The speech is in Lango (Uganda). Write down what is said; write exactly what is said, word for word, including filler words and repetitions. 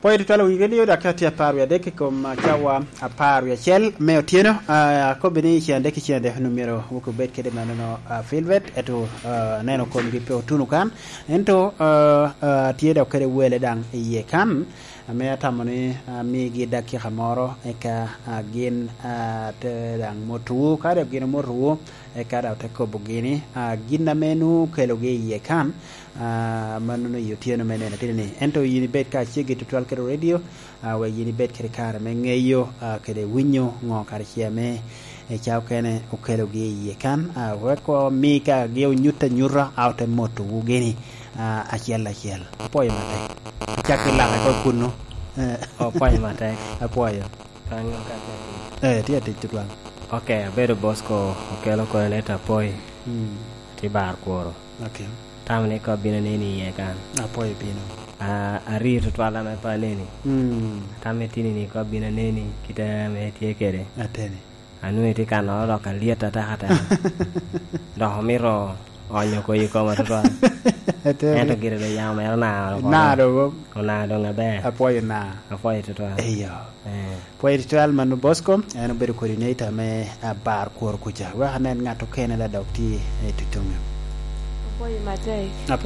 Pwod itwal owinyo radio dakika tye apar wie adek i kom, ah, cawa apar wie acel me otyeno. Ah, akobbi ni cen adek ki cen adek onwoŋo myero wok obed kede manono, ah, Filbert, eto, ah, aneno komgi pe otuno kan. Ento, ah, ah, tye dok kede wele daŋ i yie kan, ame atamo ni, ah, amigi dakika moro, eka, ah, gin, ah, te daŋ motowu. Ka dok gin omotowu, eka dok te kobogi ni, ah, gin ame nwoŋo okelogi i yie kan, ah, manono i otyeno me nino tidi ni. Ento yin ibed ka aceggi tutwal kede radio, ah, wek yin ibed kede kare me ŋeyo, ah, kede winyo ŋo kare ce ame i ca okene okelogi i yie kan, ah, wek omi ka gi onyut anyuta, a ote motowu gini, ah, acel acel. Apwoyo matek. Acak i laka oko kunnu. Eh. Apwoyo matek. Apwoyo. Kan ŋo ka atek? Eh, tye atic tutwal. Ok, abedo Bosco okelo kono leta apwoyo. Mm. Tye bar kworo. Ok. Tamo ni kop bino neni iye kan. Apwoyo bino. Ah, arii tutwal ame pe aneni. Mm. Atamo itini ni kop bino neni kite ame itye kede. Ateni. Anwoŋo itye ka nono dok alyet atek ateka. Dok omito onyo koyi koma tutwal. Ateni. Ento gire doŋ yamo mere onao oko. Naa doŋ. Onao doŋ aber. Apwoyo naa. Apwoyo tutwal. Eyo. Eh. Pwod itwal mano Bosco, en obedo coordinator me, ah, bar kworo kuca. Wek anen ŋat okene la dok tye i tutuŋe. Apwoyo matek. Apwoyo.